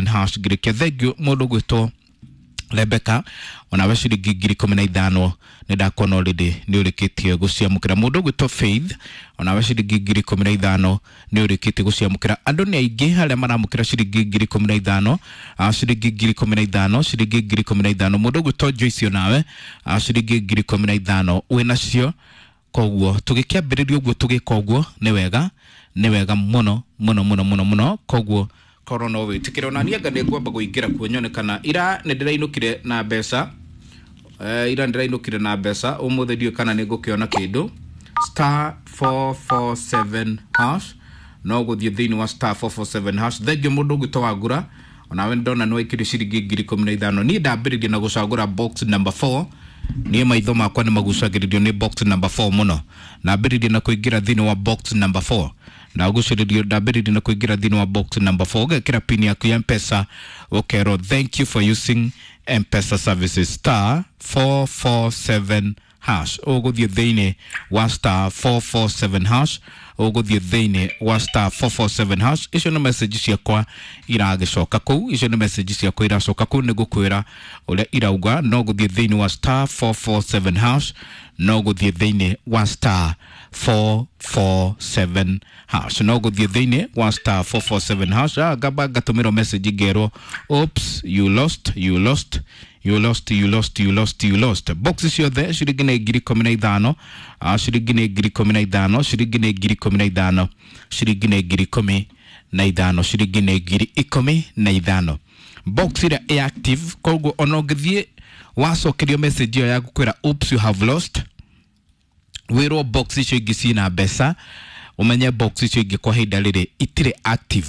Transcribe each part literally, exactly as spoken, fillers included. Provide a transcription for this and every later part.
Hash. Ngĩrĩkia, thengiũ mũndũ gwĩtwo Rebecca, onawe ciringi ngiri ikũmi na ithano nĩ ndakuona already nĩ ũrĩkĩtie gũciamũkĩra. Mũndũ ũgwĩtwo Faith, onawe ciringi ngiri ikũmi na ithano nĩ ũrĩkĩtie gũciamũkĩra. Andũ nĩ aingĩ harĩa maramũkĩra ciringi ngiri ikũmi na ithano, ah, ciringi ngiri ikũmi na ithano, ciringi ngiri ikũmi na ithano. Mũndũ ũgwĩtwo Joyce, onawe ah, ciringi ngiri ikũmi na ithano wĩnacio. Koguo tũgĩkĩambĩrĩria ũguo, tũgĩka ũguo nĩ wega, nĩ wega mũno mũno mũno mũno mũno. Koguo korwo no wĩtĩkĩre, ona niĩ anga nĩ ngwamba kũingĩra kuo nyone kana ira nĩ ndĩrainũkire na mbeca. Eh, ira ndĩrainũkire na mbeca, ũmũthĩ ndiũĩ kana nĩ ngũkĩona kĩndũ. Star four four seven hash, no gũthiĩ thĩinĩ wa star four four seven hash. Thengio mũndũ ũngĩtwo Wangura, onawe ndona nĩ waikĩrio ciringi ngiri ikũmi na ithano. Niĩ ndambĩrĩria na gũcagũra box number four. Niĩ maitho makwa nĩ magucagĩrĩrio nĩ box number four mũno. Ndambĩrĩria na kũingĩra thĩinĩ wa box number four, ndagucĩrĩrio, ndambĩrĩria na kũingĩra thĩinĩ wa box number four. Ũgekĩra pin yaku ya Mpesa, ũkerwo, "Thank you for using Mpesa services." Star four four seven hash, ũgũthiĩ thĩinĩ wa star four four seven hash, ũgũthiĩ thĩinĩ wa star four four seven hash. Icio nĩ message ciakwa iragĩcoka kũu, icio nĩ message ciakwa iracoka kũu, nĩ ngũkwĩra ũrĩa irauga. No gũthiĩ thĩinĩ wa star four four seven hash, no gũthiĩ thĩinĩ wa star four four seven hash, no gũthiĩ thĩinĩ wa star four four seven hash. Ah, ngamba ngatũmĩrwo message ngerwo, "Oops, you lost, you lost, you lost, you lost, you lost, you lost." Box ciothe ciringi nĩ ngiri ikũmi na ithano, ah, ciringi nĩ ngiri ikũmi na ithano, ciringi nĩ ngiri ikũmi na ithano, ciringi nĩ ngiri ikũmi na ithano, ciringi nĩ ngiri ikũmi na ithano. Box ĩrĩa ĩ active, koguo ona ũngĩthiĩ wacokerio message ĩyo ya gũkwĩra, "Oops, you have lost," wĩrwo box icio ingĩ ciĩna mbeca, ũmenye box icio ingĩ kwa ihinda rĩrĩ itirĩ active.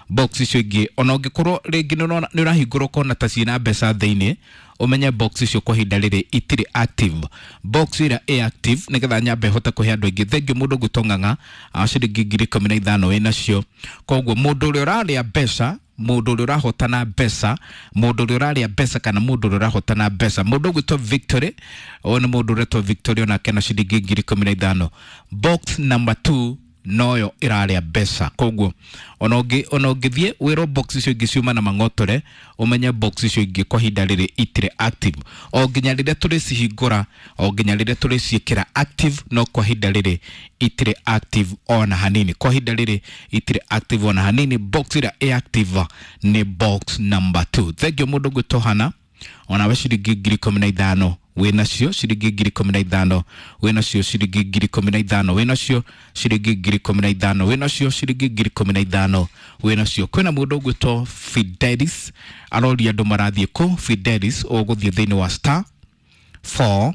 Box icio ingĩ, ona ũngĩkorwo rĩngĩ nĩ ũrona- nĩ ũrahingũra ũkona ta ciĩna mbeca thĩinĩ, ũmenye box icio kwa ihinda rĩrĩ itirĩ active. Box ĩrĩa ĩ active, nĩgetha nyambe hote kũhe andũ aingĩ. Thengio mũndũ ũgwĩtwo Ng'ang'a, ah, ciringi ngiri ikũmi na ithano wĩnacio. Koguo mũndũ ũrĩa ũrarĩa mbeca, mũndũ ũrĩa ũrahotana mbeca, mũndũ ũrĩa ũrarĩa mbeca kana mũndũ ũrĩa ũrahotana mbeca, mũndũ ũgwĩtwo Victory, ũyũ nĩ mũndũ ũretwo Victory, onake na ciringi ngiri ikũmi na ithano. Box number two noyo ĩrarĩa mbeca. Koguo ona ũngĩ ona ũngĩthiĩ wĩrwo box icio ingĩ ciuma na mang'otore, ũmenye box icio ingĩ kwa ihinda rĩrĩ itirĩ active, o nginya rĩrĩa tũrĩcihingũra, o nginya rĩrĩa tũrĩciĩkĩra active. No kwa ihinda rĩrĩ itirĩ active ona hanini, kwa ihinda rĩrĩ itirĩ active ona hanini. Box ĩrĩa ĩ active nĩ box number two. Thengio mũndũ ũgwĩtwo Hana, onawe ciringi ngiri ikũmi na ithano wĩnacio, ciringi ngiri ikũmi na ithano wĩnacio, ciringi ngiri ikũmi na ithano wĩnacio, ciringi ngiri ikũmi na ithano wĩnacio, ciringi ngiri ikũmi na ithano wĩnacio. Kwĩna mũndũ ũgwĩtwo Fidelis, aroria andũ marathiĩ kũ. Fidelis, ũgũthiĩ thĩinĩ wa star four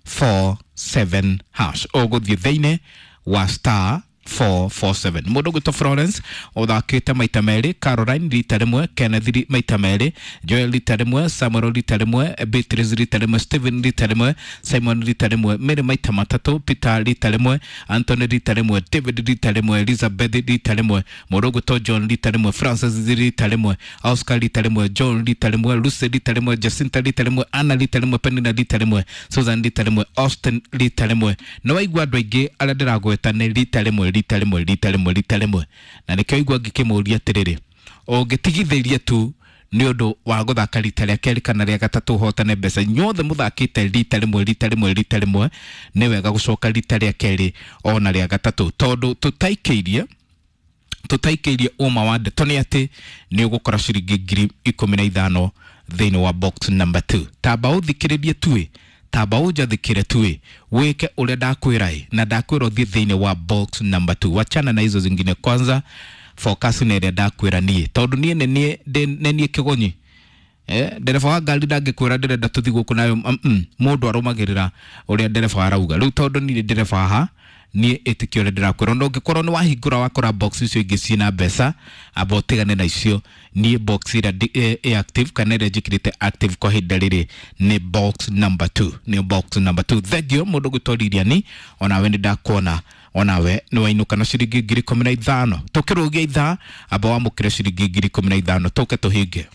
four seven hash, ũgũthiĩ thĩinĩ wa star four four seven. Mũndũ ũgwĩtwo Florence ũthakĩte maita merĩ, Caroline rita rĩmwe, Kenneth ri- maita merĩ, Joel rita rĩmwe, Samuel rita rĩmwe, Beatrice rita rĩmwe, Stephen rita rĩmwe, Simon rita rĩmwe, Mary maita matatũ, Peter rita rĩmwe, Anthony rita rĩmwe, David rita rĩmwe, Elizabeth rita rĩmwe, mũndũ ũgwĩtwo John rita rĩmwe, Francis rita rĩmwe, Oscar rita rĩmwe, John rita rĩmwe, Lucy rita rĩmwe, Jacinta rita rĩmwe, Anna rita rĩmwe, Penina rita rĩmwe, Susan rita rĩmwe, Austin rita rĩmwe. Nĩ waigua andũ aingĩ arĩa ndĩragweta nĩ rita rĩmwe, rita rĩmwe, rita rĩmwe, rita rĩmwe, na nĩkĩo igua ngĩkĩmũria atĩrĩrĩ, ũngĩtigithĩria tu nĩ ũndũ wa gũthaka rita rĩa kerĩ kana rĩa gatatũ ũhotane mbeca? Inyuothe mũthakĩte rita rĩmwe, rita rĩmwe, rita rĩmwe, nĩ wega gũcoka rita rĩa kerĩ ona rĩa gatatũ, tondũ tũtaikĩirie tũtaikĩirie ũma wa ndeto nĩ atĩ nĩ ũgũkora ciringi ngiri ikũmi na ithano thĩinĩ wa box number two. Tamba ũthikĩrĩrie tuĩ, tamba ũnjathĩkĩre tuĩ, wĩke ũrĩa ndakwĩra ĩ, na ndakwĩra ũthiĩ thĩinĩ wa box number two. Wachana na hizo zingine kwanza, focus na ĩrĩa ndakwĩra niĩ, tondũ niĩ nĩ niĩ ndĩ- nĩ niĩ kĩgonyi. Eh, ndereba wa ngari ndangĩkwĩra ndĩrenda tũthiĩ gũkũ nayo. mm -mm. Mũndũ arũmagĩrĩra ũrĩa ndereba arauga. Rĩu tondũ niĩ ndereba haha, niĩ ĩtĩkio ũrĩa ndĩrakwĩra. Ona ũngĩkorwo nĩ wahingũra wakora box icio ingĩ ciĩna mbeca, amba ũtigane na icio. Niĩ box ĩrĩa ndĩ- ĩ ĩ active kana ĩrĩa njĩkĩrĩte active kwa ihinda rĩrĩ nĩ box number two, nĩ box number two. Thengio mũndũ gwĩtwo Lilian, onawe nĩ ndakuona, onawe nĩ wainũka na ciringi ngiri ikũmi na ithano. Tũkĩrũgia ithaa, amba wamũkĩre ciringi ngiri ikũmi na ithano, tũke tũhinge.